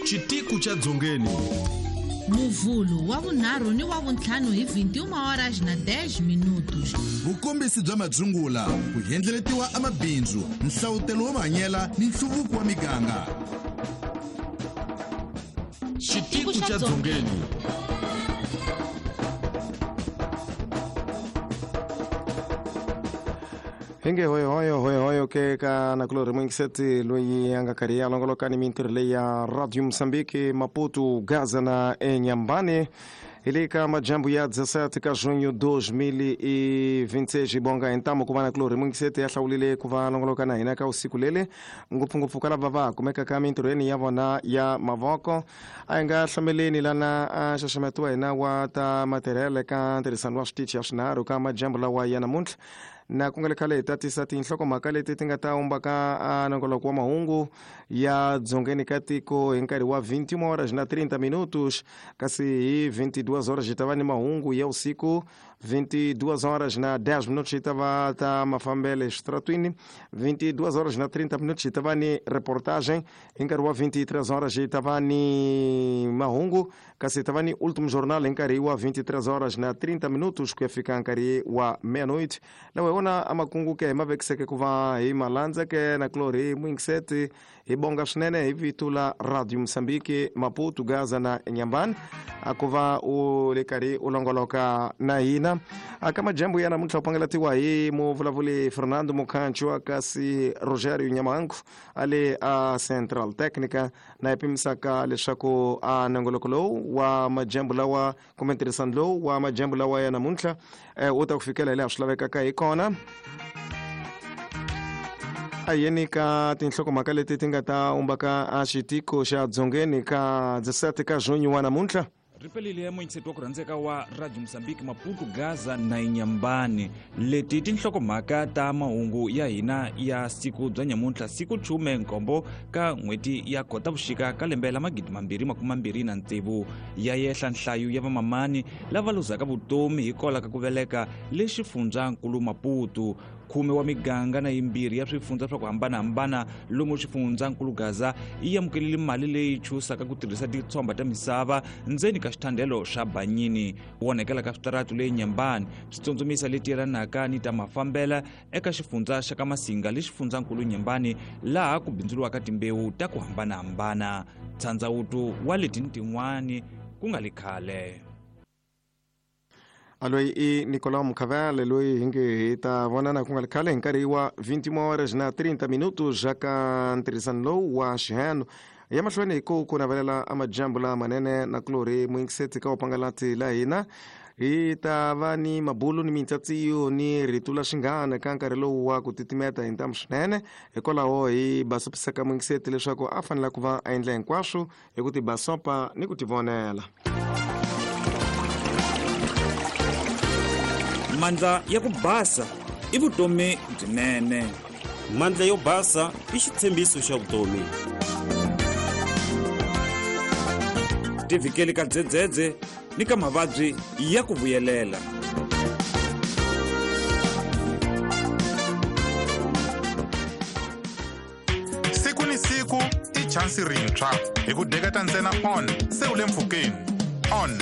Xitiku xa Dzongeni. Muvhulu wa vunharhu ni wa vuntlhanu hi 21 horas na 10 minutos. Vukombisi bya madzungula, ku endleletiwa amabindzu, nhlavutelo wa mahanyela ni nhluvuko wa miganga. Xitiku xa Dzongeni. Hinge hoyo hoyo hoyo ke ka nakulori mwingiseti loyi a nga karhi ya longoloka ni mintirho leyi ya Radio Mozambique Maputo Gaza na Inhambane hi le ka majambu ya 17 ka junho 2026 bonga hintamu ku va nakulori mwingiseti ya hlawulile ku va longoloka na hina ka usiku lele ngopfungopfu ka lava va kumeka ka mintirhweni ya vona ya mavoko. A hi nga hlameleni lana a xaxameto wa hina wa ta matirhele ka ntirhisano wa switichi ya swinharhu ka majambu lawa ya namuntlha na ku nga le khale hi tatisa tinhlokomhaka leti ti nga ta umbaka a nongoloko wa mahungu ya dzongeni ka tiko hi nkarhi wa 21 horas na 30 minutos, kasi hi 22 horas hi ta va ni mahungu ya usiku, 22 horas na 10 minutos hi ta va ta mafambele exitratwini, 22 horas na 30 minutos hi ta va ni reportagem, hi nkarhi wa 23 horas hi ta va ni mahungu, kasi hi ta va ni último jornal hi nkarhi wa 23 horas na 30 minutos ku ya fika nkarhi wa meia-noite. Lawa hi wona a makungu ke hi ma vekiseke ku va hi malandza ke na kulorhi mwingiseti hi bonga swinene hi vito la Radio Mozambique Maputo Gaza na Inhambane a ku va u le karhi u longoloka na hina. Aka majambu ya namuntlha u pangelatiwa hi muvulavuli Fernando Mukhancho kasi Rogério Nyamangu a le a Central Técnica na hi pimisaka leswaku a nongoloko lowu wa majambu lawa kumbe ntirhisano lowu wa majambu lawa ya namuntlha u ta ku fikela hi laha swi lavekaka hi kona. A yeni ka tinhlokomhaka leti ti nga ta umbaka a xitiko xa dzongeni ka 17 ka junho wa namuntlha. Ripelile muingiseti wa ku rhandzeka wa Radio Mozambique Maputo Gaza na Inhambane. Leti tinhlokomhaka ta mahungu ya hina ya siku bya nyamuntlha, siku 17 ka n'hweti ya Khotavuxika ka lembe la 2026. Ya yehla nhlayo ya vamamani lava luzaka vutomi hikwalaho ka ku veleka le xifundzankulu Maputo. 10 wa miganga na yimbirhi ya swifundza swa ku hambanahambana lomu xifundzankulu Gaza yi amukelile mali leyi chusaka ku tirhisa titshomba ta misava ndzeni ka xithandelo xa Banyini. Ku onhakela ka switaratu le Inhambane swi tsundzumisa leti yelanaka ni ta mafambela eka xifundza xa ka Masinga le xifundzankulu Inhambane laha ku bindzuriwaka timbewu ta ku hambanahambana. Tshandzawuto wa leti ni tin'wani ku nga le khale. Loyi i Nicolau Mukhavele loyi hi nge hi ta vonana ku nga ri khale hi nkarhi wa 21 horas na 30 minutos ka ntirhisano lowu wa xiheno ya mahlweni hi ku ku navelela amajambu lamanene na kulorhi muingiseti ka upangalati la hina. Hi ta va ni mabulu ni mintsatsiyo ni rito la xinghana ka nkarhi lowu wa ku titimeta hi ntamu swinene, hikwalaho hi basopisaka muingiseti leswaku a fanele ku va a endla hinkwaswo hi ku tibasopa ni ku tivonela. Mandla ya ku basa i vutomi byinene. Mandla yo basa i xitshembiso xa vutomi. Tivikeli ka dzedzedze ni ka mavabyi ya ku vuyelela. Siku ni siku i chansi rintshwa hi ku deketa ntsena on se u le mpfhukeni. On